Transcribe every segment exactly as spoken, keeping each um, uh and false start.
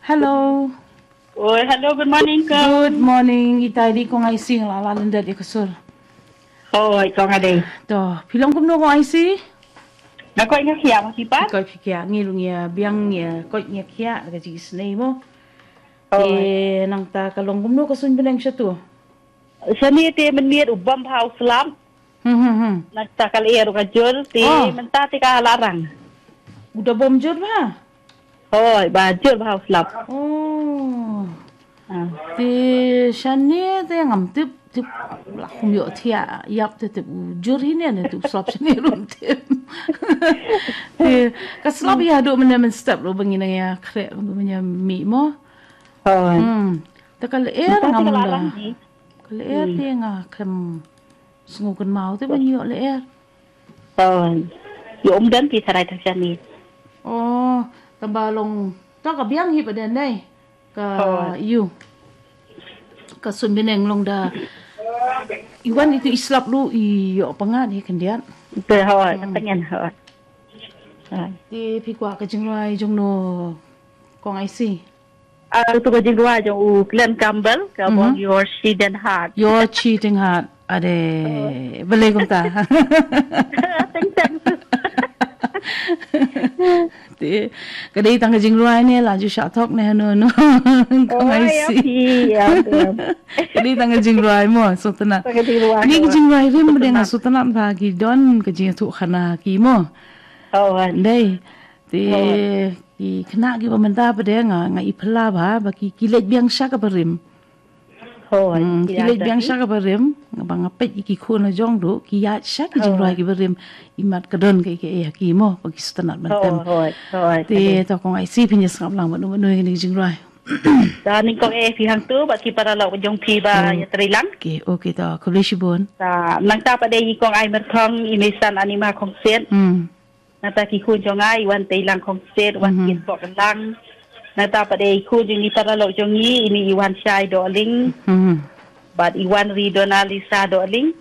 Hello. Oi, hello, good morning, Kong. Good morning, ita di Kong Aisi, nga la lyndet ïa ka sur. Oi, Kong Ade. To, phi long kumno Kong Aisi? Nga koit nga khiah ma phi pat? Koit phi khiah, ngi ruh ngi ïa biang ngi ïa koit ngi ïa khiah da ka jingisynei mo. Oi. Te nangta ka long kumno ka suiñ bneng shatu? Shane te mynmiet u bom bha u slap. Hmm, hmm, hmm. Nangta ka lyer ruh ka jur, te mynta te ka la rang. U da bom jur bha? Hooid, ba jur bha u slap. Oh. Ah. Te shane te ngam tip, tip la khum ïoh thiah ïap te tip u jur hi ne, ne tip u slap shane ruh tip. Te ka slap ïa haduh mynne mynstep ruh ba ngi nang ïa khreh ruh ba ngi ïa mih mo. Hooid. Hmm. Te ka lyer ngam da. Ka lyer te nga khlem sngew kynmaw te ban ïoh lyer. Hooid. Ïoh um don phi tharai tang shane. Oh, tang ba long, to ka biang hi ba den dei. Ka ïu. Ka suiñ bneng long da. I wan itu i slap ruh i ïoh pyngngad hi khyndiat. Te hooid, ka tngen hooid. Hooid. Te phi kwah ka jingrwai jong no Kong Aisi. Ah, utu ka jingrwai jong u Glen Campbell, ka bong Your Cheating Heart. Your Cheating Heart. Ade, balei kumta? Teng teng. Te, ka dei tang ka jingrwai ne la ju shah thok ne hano no. Kong Aisi. Ka dei tang ka jingrwai mo, sngewtynnat. Tang ka jingrwai. Ni ka jingrwai rim ba dei nga sngewtynnat ba ki don ka jingïathuh khana ki mo. Dei. Te ki khynnah kiba mynta pat de nga, nga i phylla ba, ba ki, ki leit biang sha kaba rim. Hooid, hmm, ki leit biang sha kaba rim, ba nga peit ïa ki khun la jong ruh, ki ïaid sha ki jingrwai kiba rim, imat ka don kaei kaei ha ki mo, ba ki sngewtynnat ban tem. Hooid, hooid. Te to Kong Aisi phin ïa sngap lang bad u, bad u ïa kane ka jingrwai. Da nyngkong eh phi hangtu, bad ki paralok jong phi ba ïatrei lang. Okay, okay to, khublei shibun. Da nangta pat de i Kong Ai Myrthong, i Meisan Anima Khongsiet. Hmm. Nangta ki khun jong nga, i Wan Teilang Khongsiet, Wan Kitbok Lang. Nangta pat de i khun jong i paralok jong i, ini i Wan Shai Dohling. Bad i Wan Ri Donalisa Dohling.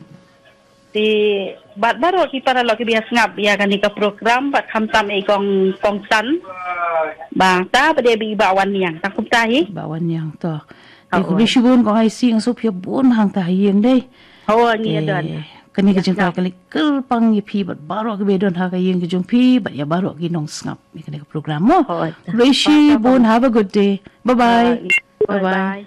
Te bad baroh ki paralok kiba ïa sngap ïa kane ka program, bad khamtam i Kong, Kong San. Bad ta pat de i Bah Wan Niang, tang kumta hi. Bah Wan Niang to. Te khublei shibun Kong Aisi, nga sngewbha bun hangta ha ïing dei. Hooid, ngi ïa don. Kane ka jingkyrpang ka leit kyrpang ïa phi bad baroh kiba don ha ka ïing ka jong phi bad ïa baroh ki nongsngap ïa kane ka program mo. Hooid. Khublei shibun, have a good day. Bye bye. Bye bye.